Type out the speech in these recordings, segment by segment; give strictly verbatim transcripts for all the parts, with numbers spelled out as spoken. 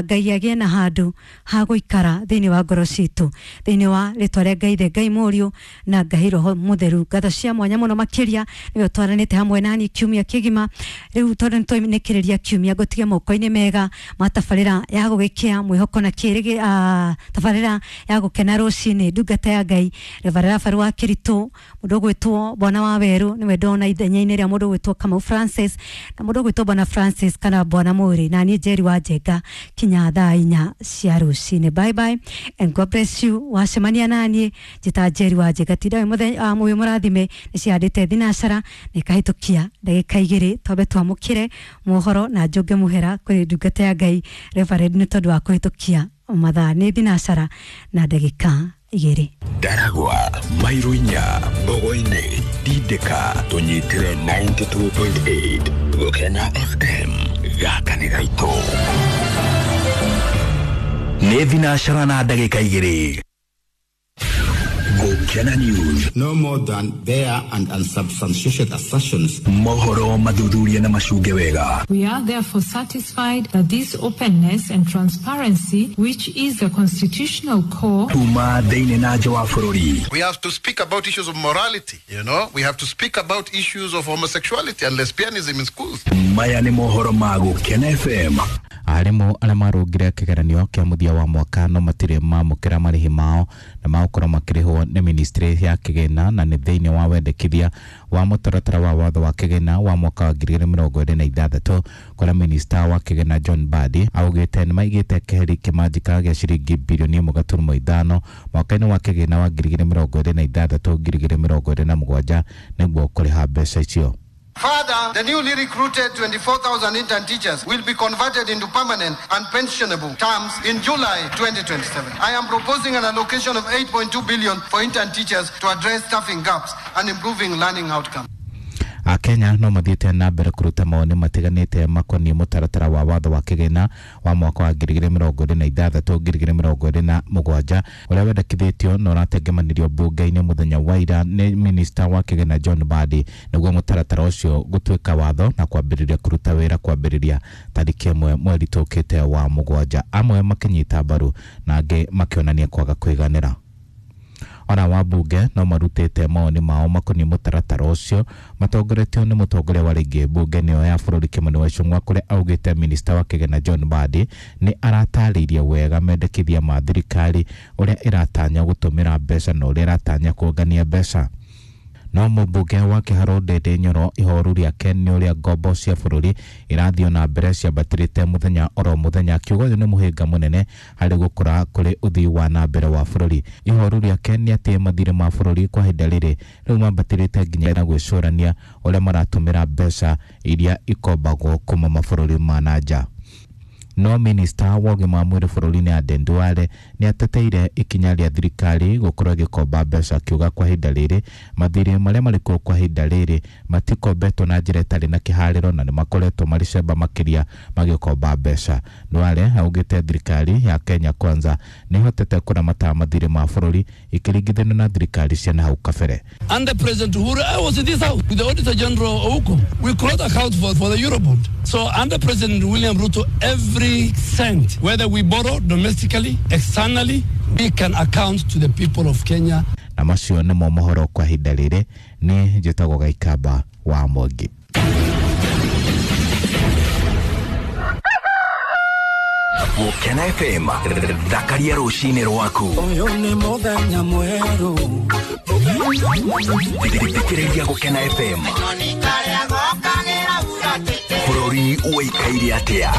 Ngai agĩe na handũ ha gũikara thĩinĩ wa ngoro citũ, thĩinĩ wa rĩtwa rĩa Ngai Ithe, Ngai Mũriũ na Ngai Roho Mũtheru. Ngatho cia mwanya mũno makĩria nĩwe ũtwaranĩte hamwe nani kiumia kĩgima. Rĩu tondũ nĩtwainĩkĩrĩria kiumia, ngũtige moko-inĩ mega ma tabarĩra ya gũgĩkĩa mwĩhoko na kĩrĩgĩ, uh, tabarĩra ya gũkena rũcinĩ. Ndungata ya Ngai Reverend Rafael wa Kĩritũ, mũndũ ũgwĩtwo Bwana wa Werũ nĩwe ndona ithenya-inĩ rĩa mũndũ ũgwĩtwo Kamau Francis, na mũndũ ũgwĩtwo Bwana Francis kana Bwana Mũrĩ, na niĩ Njeri wa Njenga kinya thaa inya cia rũcinĩ. Bye bye and God bless you. Wacemania naniĩ njĩta Njeri wa Njenga. Tinda wĩ mũthenya wĩ mũrathime. Nĩ cihandĩte thinacara na ikahĩtũkia ndagĩka igĩrĩ, twambe twamũkĩre mohoro na njũnge mũhera kũrĩ ndungata ya Ngai Reverend nĩ tondũ wa kũhĩtũkia mathaa. Nĩ thinacara na ndagĩka igĩrĩ. Ndaragwa, mairo inya, Mbogo-inĩ, Ndindĩka, tũnyitĩre mĩrongo kenda na igĩrĩ turuma kenda Gũkena F M, gaka nĩ gaitũ. Nĩ thinacara na ndagĩka igĩrĩ. Gũkena News. No more than bare and unsubstantiated assertions. Mohoro mathuthurie na macunge wega. We are therefore satisfied that this openness and transparency, which is the constitutional core kuma thĩinĩ na nja wa bũrũri. We have to speak about issues of morality, you know. We have to speak about issues of homosexuality and lesbianism in schools. Maya nĩ mohoro ma Gũkena F M. Arimũ arĩa marũngire kĩgeranio kĩa mũthia wa mwaka no matirĩ mamũkĩra marĩhi mao na magũkorwo makĩrĩhwo nĩ ministry ya kĩgĩna, na nĩ thĩinĩ wa wendekithia wa mũtaratara wa watho wa kĩgĩna wa mwaka wa ngiri igĩrĩ mĩrongo ĩrĩ na ithathatũ, kũrĩa minista wa kĩgĩna John Mbadi augĩte nĩ maigĩte keheri kĩmanjĩka gĩa ciringi birioni ĩmwe gaturumo ithano mwaka-inĩ wa kĩgĩna wa ngiri igĩrĩ mĩrongo ĩrĩ na ithathatũ ngiri igĩrĩ mĩrongo ĩrĩ na mũgwanja nĩguo kũrĩha mbeca icio. Further, the newly recruited twenty-four thousand intern teachers will be converted into permanent and pensionable terms in July twenty twenty-seven. I am proposing an allocation of eight point two billion for intern teachers to address staffing gaps and improving learning outcomes. Akenya no mathiĩte na mbere kũruta mawoni matiganĩte makoniĩ mũtaratara wa watho wa kĩgĩna wa mwaka wa ngiri igĩrĩ mĩrongo ĩrĩ na ithathatũ ngiri igĩrĩ mĩrongo ĩrĩ na mũgwanja, ũrĩa wendekithĩtio na ũratengemanirio mbunge-inĩ mũthenya wa ira nĩ minista wa kĩgĩna John Mbadi, nĩguo mũtaratara ũcio gũtuĩka watho na kwambĩrĩria kũruta wĩra kwambĩrĩria tarĩki ĩmwe mweri tũkĩte wa mũgwanja, amwe makĩnyita mbaru na angĩ makĩonania kwaga kũiganĩra. Ona wabunge no marutĩte mawoni mao makoniĩ mũtaratara ũcio, matongoretio nĩ mũtongoria wa rĩngĩ mbunge nĩyo ya bũrũri Kimani wa Ichung'wa, kũrĩa augĩte minista wa kĩgĩna John Mbadi nĩ aratarĩirie wega mendekithia ma thirikari, ũrĩa ĩratanya gũtũmĩra mbeca na ũrĩa ĩratanya kũngania mbeca. No mũmbunge wa Kĩharũ Ndindi Nyoro, ihoru rĩake nĩ ũrĩa ngombo cia bũrũri irathiĩ na mbere ciambatĩrĩte mũthenya oro mũthenya, akiuga ũyũ nĩ mũhĩnga mũnene harĩ gũkũra kũrĩ ũthii wa na mbere wa bũrũri. Ihoru rĩake nĩ atĩ mathirĩ ma bũrũri kwa ihinda rĩrĩ rĩu mambatĩrĩte nginya na gwĩcũrania ũrĩa maratũmĩra mbeca iria ikombagwo kuma mabũrũri ma na nja. No minista wa ũgima wa mwĩrĩ bũrũri-inĩ Aden Duale nĩ ateteire ikinya rĩa thirikari gũkorwo ĩgĩkomba mbeca, akiuga kwa ihinda rĩrĩ mathirĩ marĩa marĩ kuo kwa ihinda rĩrĩ matikombetwo na njĩra ĩtarĩ na kĩharĩro na nĩ makoretwo marĩ cemba makĩria magĩkomba mbeca. Duale augĩte thirikari ya Kenya Kwanza nĩ ĩhotete kũramata mathirĩ ma bũrũri ikĩringithanio na thirikari cia nahau kabere. Under President Uhuru, I was in this house with the Auditor General Ouko. We could not account for, for the Eurobond. So under President William Ruto, every cent, whether we borrow domestically, externally, we can account to the people of Kenya. Na macio nĩmo mohoro kwa ihinda rĩrĩ. Nĩ njĩtagwo Gaikamba wa Mwangi. Gũkena F M, thakaria rũcinĩ rwaku. Ũyũ nĩ mũthenya mwerũ. Thikĩrĩria Gũkena F M. Bũrũri ũikaire atĩa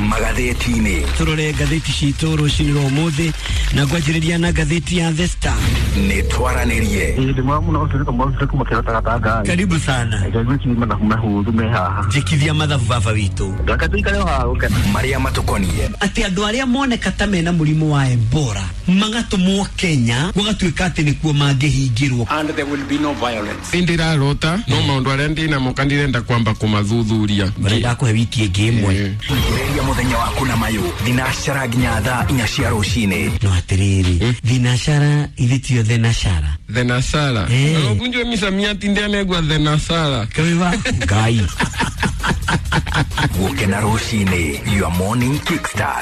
magathĩti-inĩ? Tũrore ngathĩti citũ rũcinĩ rwa ũmũthĩ na ngwanjĩrĩria na ngathĩti ya The Star. Nĩ twaranĩrie. Karibu sana. Njĩkithia mathabu baba witũ. Marĩa matũkoniĩ. Atĩ andũ arĩa moneka ta mena mũrimũ wa Ebola magatũmwo Kenya, gũgatuĩka atĩ nĩkuo mangĩhingĩrwo. And there will be no violence. Ndirarota no maundu aria ndinamo ndirenda kwamba kumathuthuria. Marenda kũhe wiki ĩngĩ ĩmwe. Thikĩrĩria mũthenya waku na mayũ thinacara nginya thaa inya cia rũcinĩ. No atĩrĩrĩ, thinacara ithe tio thenashara? Thenasara. Eh. Ukunjwe misamiati ndianegwa thenasara. Kaiwa Ngai. Gũkena rũcinĩ, your morning kickstart.